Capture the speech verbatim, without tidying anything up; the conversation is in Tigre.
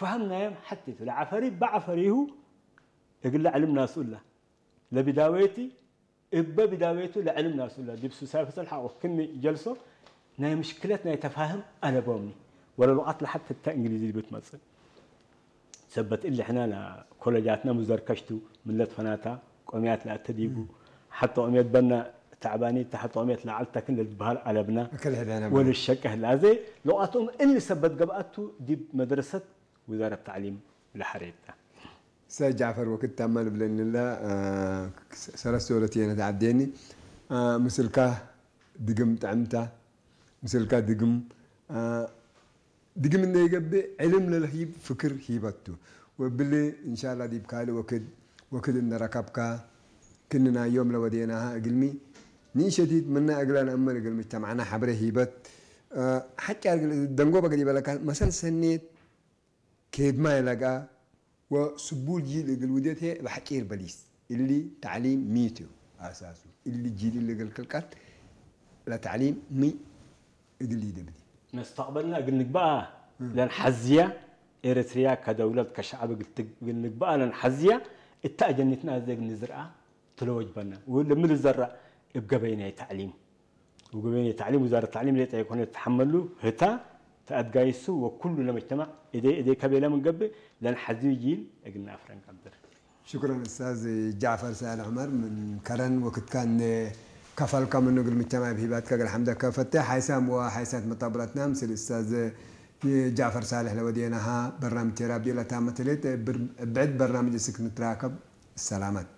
ፈሀም ናዮም ሐቴቱ ለዐፈሪ በዐፈሪሁ እግለ ዕልም ናሱ እላ ለቢዳዌቲ እበ ቢዳዌቱ ለዕልም ናሱ እላ ዲብ ሱሳይ ፈሰል ሐቆ ክም ጀልሶ ናይ ምሽክለት ናይ ተፋህም አለቦምኒ። ወለልቀት ለሐት እተ እንግሊዚ ዲብ ትመጽእ። ሰበት እሊ ሕነ ለኮለጃትነ ሙዘርከሽቱ ምለት ፈናታ ቆምያት ለአተ ዲቡ። ሐተ ቆምየት በነ ተዕባኒት ሐተ ቆምየት ለዐል ተክን ለልትበሃል አለብነ። እክል ሕደነ በነ። ወልሸቀህ ለአዜ ለውአቶም እሊ ሰበት ገብአቱ ዲብ መድረሰት ውዛረት ተዕሊም ለሐሬት ተ። ሰ ጃፈር ወክድ ታመ ልብለኒ እለ፣ አ፣ ሰለስት ወለትየነ ተዐዴኒ፣ አ፣ ምስልካ ድግም ጥዕምታ፣ ምስልካ ድግም፣ አ፣ ድግም እንዴ ኢገብእ ዕልም ለልህይብ ፍክር ሂበቱ። ወእብሊ እንሻላ ዲብ ካልእ ወክድ፣ ወክድ እንዴ ረከብካ፣ ክእኒ ናይ ዮም ለወዴናሃ እግልሚ፣ ንኢሸቲት ምነ እግለ ነአምን እግል ምጅተማዕና ሐብሬ ሂበት፣ አ፣ ሐጫ እግል ደንጎበ እግል ኢበለካ መሰል ሰኔት፣ ኬድማይ ለጋ ወስቡል ጂል እግል ውዴት ህዬ እብ ሐጪር በሊስ። እሊ ተዕሊም ሚ ቱ አሳሱ? እሊ ጂል እሊ እግል ክልቀት ለተዕሊም ሚ እግል ኢደብዲ? መስተቅበልና እግል ንግበአ እም። ለንሐዝያ፣ ኤረትርያ ከደውለት ከሸዐብ እግል ትግ-፣ እግል ንግበአ ለንሐዝያ፣ እተ አጀኒትና አዜ እግል ንዝርአ ትለወጅበነ። ወለሚ ልዘረእ እብ ገበይ ናይ ተዕሊም። ወገበይ ናይ ተዕሊም፣ ውዛረት ተዕሊም ሌጠ ኢኮነት ተሐመሉ ህታ ተአትጋይሱ ወኩሉ ለመጅተማዕ እዴ እዴ ከቤለ ምን ገብእ ለንሐዝዩ ጂል እግል ነአፍረ እንቀድር። ሽክረን እስታዝ ጃዕፈር ሳልሕ ዑመር፣ ምን ከረን ወክትካ እንዴ ከፈልከ ምኑ እግል ምጅተማዕ እብ ሂባትከ እግል ሐምደከ ፈቴ። ሓይሳም ወሓይሳት መጣብላትና ምስል እስታዝ ጃዕፈር ሳልሕ ለወዴናሃ በርናምጅ ቴራብ ዲላ ታመት ህሌት። ብር-፣ ብዕድ በርናምጅ እስክ ንትራከብ። ሰላመት።